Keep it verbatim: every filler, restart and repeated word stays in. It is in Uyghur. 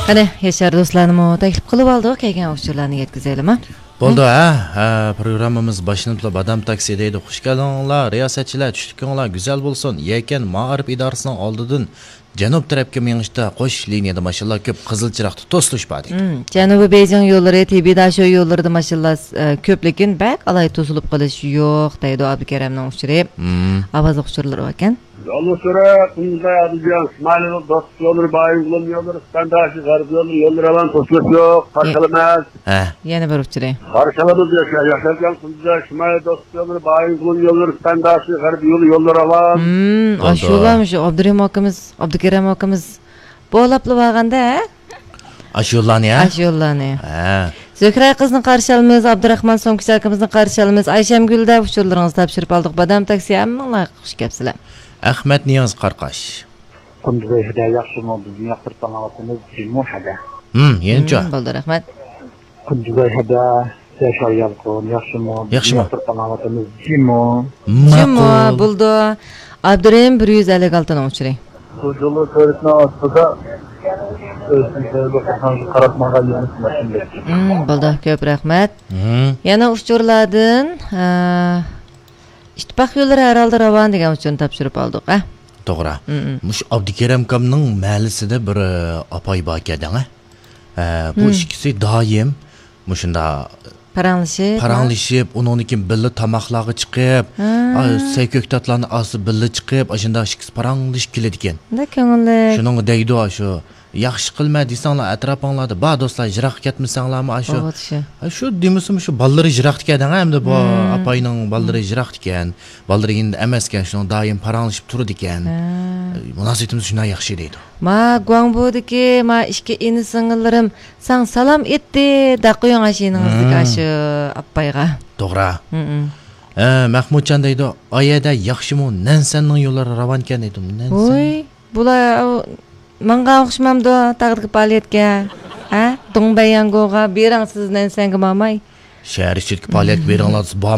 قېنى، ياشار دوستلارنىمۇ تەكلىپ قىلىۋالدۇق، كەلگەن ئۇچۇرلارنى يەتكۈزەيلىما؟ بولدى، ھە؟ ھە، پروگراممىمىز باشلىنىپلا بادام تاكسى دەيدۇ. خۇش كەلدىڭلار، رىياسەتچىلەر، چۈشلۈكۈڭلار گۈزەل بولسۇن. يەكەن مائارىپ ئىدارىسىنىڭ ئالدىدىن جەنۇب تەرەپكە مېڭىشتا قوش لىنىيەدە ماشىنىلار كۆپ، قىزىل چىراغدا توسۇلۇش بار دەيدۇ. مم، جەنۇبىي بېيجىڭ يوللىرى، تىبىي داشو يوللىرىدا ماشىنىلار، ئە، كۆپ، لېكىن بەك ئالاھىدە توسۇلۇپ قېلىش يوق دەيدۇ ئابدۇكېرەمنىڭ ئۇچۇرى. مم. ئاۋازلىق ئۇچۇرلىرى باركەن. يوللۇق سۈرە، قۇمداي، ئادىلجان، ئىسمائىل، دوستلۇق يوللىرى، بايىنغولۇم يوللىرى، سىپەنداشى، غەرب يوللىرى، يوللىرى ئامان، توسۇلۇش يوق، قارشى ئالىمىز. ھە. يەنە بىر ئۇچۇرى. قارشى ئالىمىز ياشا-، ياشاركەن قۇمداي، ئىسمائىل، دوستلۇق يوللىرى، سىپەنداشى، غەرب يولى، يوللىرى ئامان. مم، بولدى. ئاشۇلارمۇ شۇ ئابدۇرېھىم ئاكىمىز، ئابدۇكېرەم ئاكىمىز بولاپلا بارغاندا، ھە؟ ئاشۇ يوللارنى، ھە؟ ئاشۇ يوللارنى. ھە. زۆھرە قىزنى قارشى ئالىمىز، ئابدۇراخمان سوڭكىچى ئاكىمىزنى قارشى ئالىمىز. ئايشەمگۈلدە ئۇچۇرلىرىڭىزنى تاپشۇرۇپ ئالدۇق. بادام تاكسى، ھەممىڭلار خۇش كەپسىلەر. ئەخمەت نىياز قاراقاش. قۇندۇزاي ھەدە ياخشىمۇ؟ بىزنى ياقتۇرۇپ ئاڭلاۋاتىمىز، جىمۇ ھەدە. ھىم، يەنىچۇ؟ ھىم، بولدى، رەھمەت. قۇندۇزاي ھەدە، ياشار يالقۇن، ياخشىمۇ؟ بىزنى ياخشىمۇ؟ ياقتۇرۇپ ئاڭلاۋاتىمىز، جىمۇ. جىمۇ، ماقۇل. بولدى. ئابدۇرېھىم بىر يۈز ئەللىك ئالتىنىڭ ئۇچۇرى. بۇ جۇلۇ تۆرىسىنىڭ ئاستىدا ئۆزىنىڭ قاراپ ماڭغان يولىنى ماشىنا. ھىم، بولدى، كۆپ رەھمەت. ھىم. يەنە ئۇچۇرلاردىن، ئە، ئىتتىپاق يوللىرى ھەر ھالدا راۋان دېگەن ئۇچۇرنى تاپشۇرۇپ ئالدۇق، ئە؟ توغرا. ھىم، ھىم. مۇشۇ ئابدۇكېرەم ئاكامنىڭ مەھەللىسىدە بىر، ئە، ئاپاي باركەن دەڭە. ئە، بۇ ھىم. ئىككىسى دائىم مۇشۇنداق پاراڭلىشىپ، پاراڭلىشىپ، ئۇنىڭدىن كېيىن بىللە تاماقلارغا چىقىپ، ھە. ئا، سەي كۆكتاتلارنى ئاستا بىللە چىقىپ، ئاشۇنداق ئىككىسى پاراڭلىشىپ كېلىدىكەن. بەك كۆڭۈللۈك. شۇنىڭغا دەيدۇ، ئاشۇ، ياخشى قىلما دېسەڭلار، ئەتراپىڭلاردا بار دوستلار، يىراققا كەتمىسەڭلارمۇ، ئاشۇ. ئاۋۇ، شۇ. ئا، شۇ دېمىسىمۇ، شۇ بالىلىرى يىراقتىكەن دەڭە، ئەمدى بۇ ھىم. ئاپاينىڭ بالىلىرى يىراقتىكەن، بالىلىرى يېنىدا ئەمەسكەن، شۇنىڭ دائىم پاراڭلىشىپ تۇرىدىكەن. ھە. مۇناسىۋىتىمىز شۇنداق ياخشى دەيدۇ. ما گۇاڭبودىكى، ما ئىككى ئىنى سىڭىللىرىم ساڭا سالام ئېيتتى، دەپ قويۇڭ ئاشۇ يېنىڭىزدىكى ھىم. ئاشۇ ئاپايغا. توغرا. ھىم، ھىم. ئە، مەخمۇتجان دەيدۇ، ئايەدە ياخشىمۇ؟ نەنسەننىڭ يوللىرى راۋانكەن دەيدۇ. نەنسەن؟ ۋوي، بۇلار ئاۋۇ ماڭغان ئوخشىمامدۇ تاغدىكى پائالىيەتكە؟ ھە؟ دۇڭبەيياڭگوغا بېرىڭ سىز نەنسەنگە ماڭماي. شەھەر ئىچىدىكى پائالىيەتكە بېرىڭلار، سىز بار